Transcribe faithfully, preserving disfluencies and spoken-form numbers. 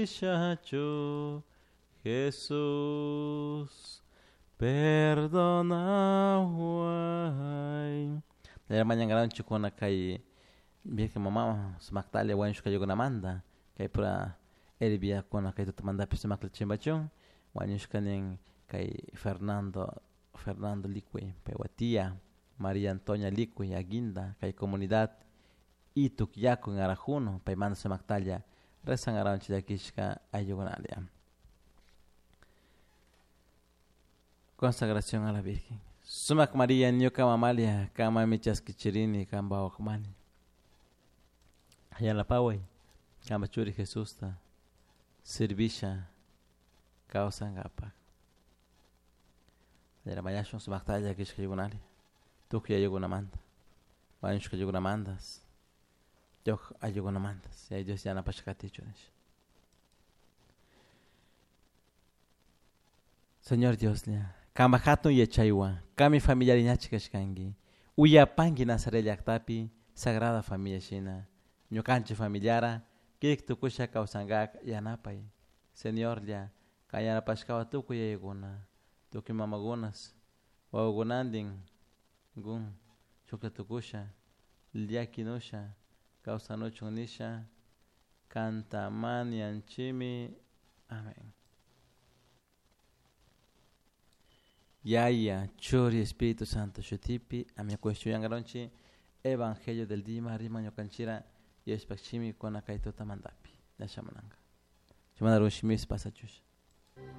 Shachu Jesús perdonaway. Mañankaranchik kay Virgen mamawan sumaktalla wañushka ayllunamanta kay pura herviakuna kay tutamantapish sumakta chimpachun wañushka nin kay Fernando Fernando Licuy paypak tia Maria Antonia Licuy Aguinda kay comunidad Itukyaku en Arajuno paymanta sumaktalla rezankaranchik llakishka ayllukunalla. Consagración a la Virgen. Sumak María ñuka mamalia kamami chaskichirini kanpak wawakmani. Yanapaway kanpak churi Jesusta servisha kawsankapak. Mañashun sumaktalla llakishka ayllukunalla tukuy ayllukunamanta wañushka ayllukunamantas yuk ayllukunamantas Yaya Dios yanapashka katichun nisha. Señor Dioslla, kanpak hatun yachaywan kami familiariñachik kashkanki uyapanki Nazaret llaktapi Sagrada Familia shina ñukanchik familiara kirik tukusha kawsankak yanapay Señorlla kan yanapashkawan tukuy yayakuna tukuy mamakunas wawakunantin kun shuklla tukusha llakinusha kawsanuchun nisha kanta mañanchikmi. Amén. Yaya, Churi, Espíritu Santo shutipi, amén. Kushuyangronchi, Evangelio del Dima, Rima ñukanchira, Diospaj shimi kuna kay tutamantapi. Yashamunanka. Chimanda rushmis pasachush.